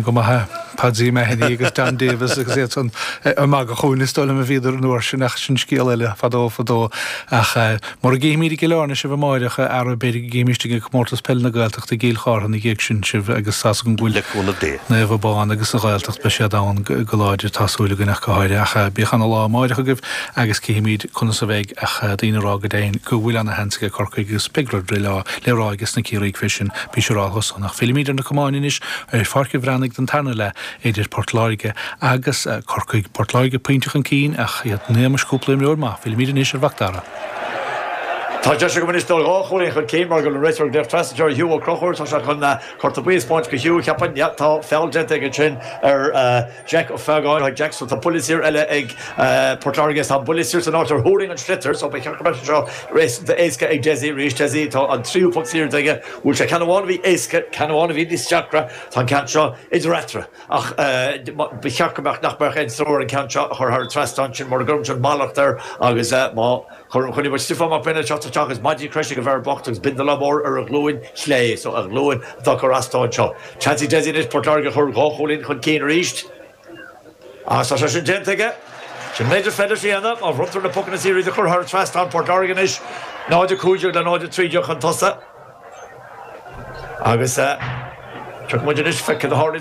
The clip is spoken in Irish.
Tuigim go maith é. Patsy Mahony agus Don Davis agus iad san ag magadh chugainn is dóigh liom a bhíodar an uair sin ach sin scéal eile fadó fadó. Ach mura gcífimid i gCill Airne sibh amáireach, a fheara, b'fhéidir go gcífimist ag Comórtas Peile na Gaeltachta i gCill Chártha ina dhiaidh sin sibh agus tá's agam go bhfuil Le cúnamh Dé. Naomh Abán agus an Ghaeltacht beidh siad ann go láidir tá súil againn ach go háirithe. Ach bíodh ana lá amáireach agaibh agus cífimid conas a bheidh ach daoine ag rá go deimhin go bhfuil ana sheans ag Corcaigh agus beidh rud le le rá aige sna Ciarraígh fé sin bí siúráilte dhe san. Ach fillimid ar na camáin anois ar Pháirc an Bhreathnaigh don tarna leath idir Port Láirge agus Corcaigh. Port Láirge pointe chun cinn ach iad in éagmais cúpla imreoir maith. Fillimid anois ar Mhac Dara. Tá deis agam anois dul dhá chúilín chun cinn mar go bhfuil an réiteoir ag glaoch trasna anseo ar Hugh Ó Conchúir. Tá sé chun cárta buí a spáint go Hugh, cheapfainn. Yeah, tá feall déanta aige ansin ar Jack Ó Faogáin. Jack, so tá buille saor eile ag Port Láirge. Tá an buille saor san áit ar thuirling an sliotar, so ba cheart go mbeadh sé seo réasúnta éasca ag Dessie arís. Dessie, tá an tríú poc saor aige. Bhuail sé ceann amháin a bhí éasca, ceann amháin a bhí níos deacra. Tá an ceann seo idir eatarthu, ach ba cheart go mbeadh, nach mbeadh aon stró ar an gceann seo a chur thar an trasnán sin mura gcuirimse an mallacht air agus má chuirim, choinnigh muid Stiofán Mac Bionaid ag teacht isteach is maidí croise ag an bhfear bocht agus bindealán mór ar a ghlúin chlé, so a ghlúin atá ag cur as dó anseo. Seans ag Dessie anois Port Láirge a chur dhá chúilín chun cinn arís agus tá sé sin déanta aige. Sin an méid is féidir leis a dhéanamh má bhronntar na pocanna saora iad a chur thar an trasnán Port Láirge anois 0-15 le 0-13 chun tosaigh. Agus tiocfaidh muid anois, feicfidh cad a tharlaíonn.